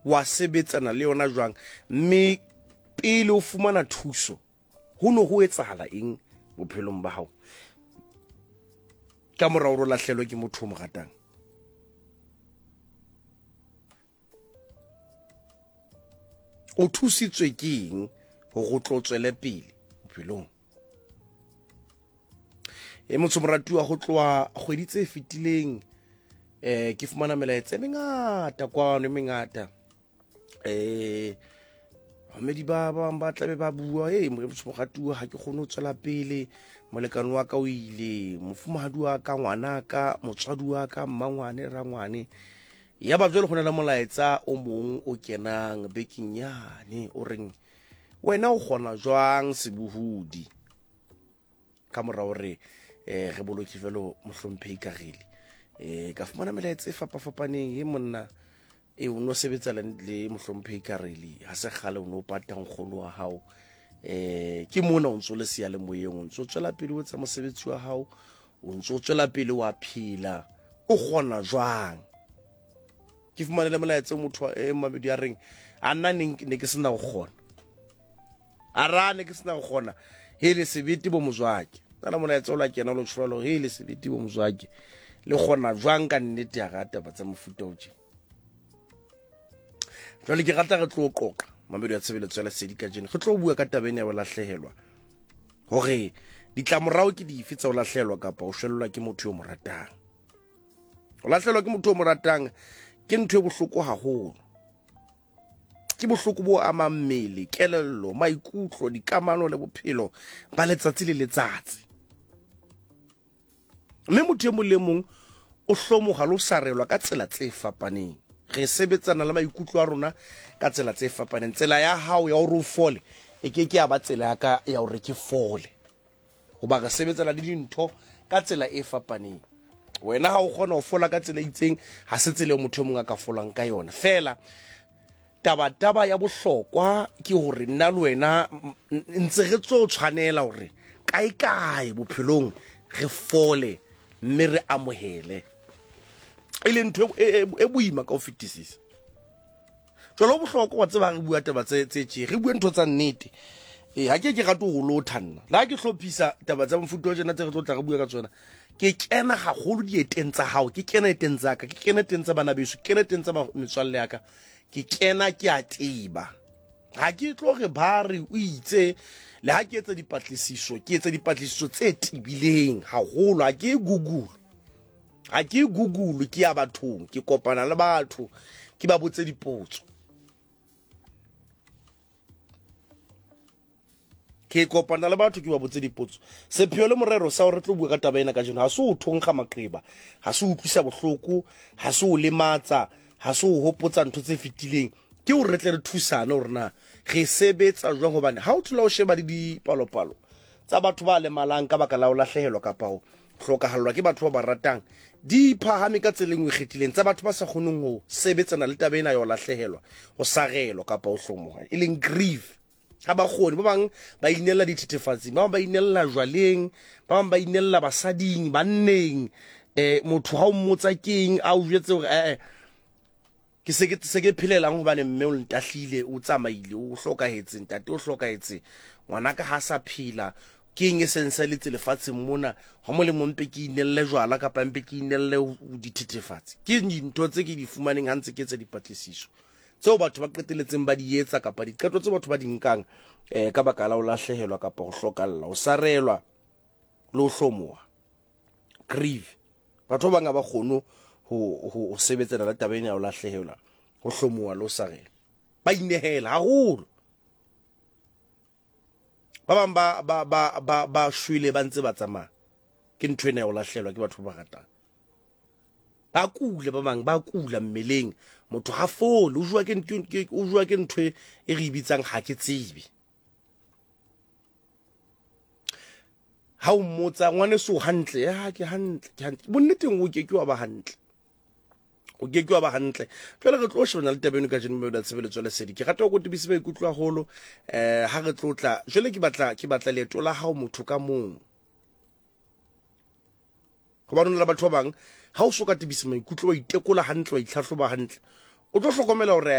Wa sebetsana le yona jwang? Mme pele o fumana thuso, ho ne ho etsahala eng bophelong ba hao ka mora hore o lahlelwe ke motho o mo ratang? O thusitswe ke eng hore o tlo tswele pele bophelong? E motho moratuwa, go tloha kgwedi tse fetileng eh ke fumana melaetsa e mengata kwano, e mengata. Bamedi ba bang ba tlabe ba bua, e motho moratuwa, ha ke kgone ho tswela pele, molekane wa ka o ile, mofumahadi wa ka, ngwana ka, motswadi wa ka, mmangwane, rangwane. Ya ba jwale go na le molaetsa o mong o kenang bekeng yane o reng, wena o kgona jwang sebohodi? Ka mora hore re boloke jwalo mohlomphehi Kareli, ka fumana melaetsa e fapafapaneng. E monna e o no sebetsa le mohlomphehi Kareli, ha se kgale o no pata nkgono wa hao, ke mona o ntso le seyalemoyeng, o ntso tswela pele o etsa mosebetsi wa hao, o ntso tswela pele wa phela, o kgona jwang? Ke fumane le molaetsa motho e mabedi a reng, a nna ne ke sena go kgona, a ra ne ke sena go kgona, he le sebete bo mozwake. Nna molaetsa o la kena lo tshwalo, he le sebete bo mozwake, le kgona jwang ka nnete ya rata ba tsa mofuta o tje? Jwale ke rata re tlo qoqa mamedi ya tshebeletso ya lesedi kajeno, re tlo bua ka taba ena ya ho lahlehelwa, hore ditlamorao ke dife tsa ho lahlehelwa kapa ho shwellwa ke motho yo mo ratang. Ho lahlehelwa ke motho o mo ratang ke ntho e bohloko haholo. Ke bohloko bo amang mmele, kelello, maikutlo, dikamano le bophelo ba letsatsi le letsatsi. Mme motho e mong le mong o hlomoga le ho sarelwa ka tsela tse fapaneng. Re sebetsana le maikutlo a rona ka tsela tse fapaneng. Tsela ya hao ya hore o fole e ke ke ya ba tsela ya ka ya hore ke fole, hoba re sebetsana le dintho ka tsela e fapaneng. Wena ha o kgona ho fola ka tsela e itseng, ha se tsela eo motho e mong a ka folang ka yona. Fela taba taba ya bohlokwa ke hore nna le wena ntse re tlo tshwanela hore kae kae bophelong re fole mme re amohele, e leng ntho e boima ka ho fetisisa. Jwale ho bohlokwa, wa tseba, re bua taba tse tje, re bue ntho tsa nnete. Ee, ha ke rate ho lotha nna. Le ha ke hlophisa taba tsa mofuta o tjena tse re tlo tla re bua ka tsona, ke kena haholo dieteng tsa hao, ke kena eteng tsa ka, ke kena teng tsa bana beso, ke kena teng tsa metswalle ya ka, ke kena ke a teba. Ha ke tlo re ba re o itse, le ha ke etsa dipatlisiso, ke etsa dipatlisiso tse tebileng haholo. Ha ke Google, ha ke Google, ke ya bathong, ke kopana le batho, ke ba botse dipotso. Ke kopana le batho, ke ba botse dipotso. Sepheo le morero sa hore re tlo bua ka taba ena kajeno ha se o thonkga maqeba, ha se o utlwisa bohloko, ha se o lematsa, ha se o hopotsa ntho tse fetileng. Ke hore re tle re thusane hore na re sebetsa jwang, hobane ha o thola o sheba le dipalopalo tsa batho ba lemalang ka baka la ho lahlehelwa kapa ho hlokahallwa ke batho ba ba ratang di phahame ka tsela e nngwe e kgethileng, tsa batho ba sa kgoneng ho sebetsana le taba ena ya ho lahlehelwa, ho sarelwa kapa ho hlomoha, e leng grief. Ha ba kgone, ba bang ba inella dithethefatsing, ba bang ba inella jwaleng, ba bang ba inella basading, banneng. Motho ha o mmotsa keng, a o jwetse hore ke se ke se ke phelelang hobane mme o ntahlile, o tsamaile, o hlokahetse, ntate o hlokahetse, ngwanaka ha sa phela, ke eng e seng saletse lefatsheng mona? Ho molemo mpe ke inelle jwala kapa mpe ke inelle dithethefatsi. Ke dintho tse ke di fumaneng ha ntse ke etsa dipatlisiso tseo batho ba qeteletseng ba di etsa, kapa diqeto tse batho ba di nkang ka baka la ho lahlehelwa kapa ho hlokalla, ho sarelwa le ho hlomoha, grief. Batho ba bang ha ba kgone ho sebetsana le taba ena ya ho lahlehelwa, ho hlomoha le ho sarelwa, ba inehela haholo. Ba bang ba shwele ba ntse ba tsamaya ke ntho ena ya ho lahlehelwa ke batho ba ba ratang. Ba kula, ba bang ba kula mmeleng, motho ha fole, o jowa ke o jowa ke ntho e re e bitsang ha ke tsebe. Ha o mmotsa, ngwaneso o hantle? Ya, ke hantle, ke hantle. Bonneteng o ke ke wa ba hantle, o ke ke wa ba hantle. Jwale re tlo shebana le taba eno kajeno mme la tshebeletso ya lesedi. Ke rata ho kotebise maikutlo haholo ha re tlo tla jwale. Ke batla leeto la hao motho ka mong, hobane o na le batho ba bang ha o so ka tebisa maikutlo, wa itekola hantle, wa itlhahloba hantle, o tlo hlokomela hore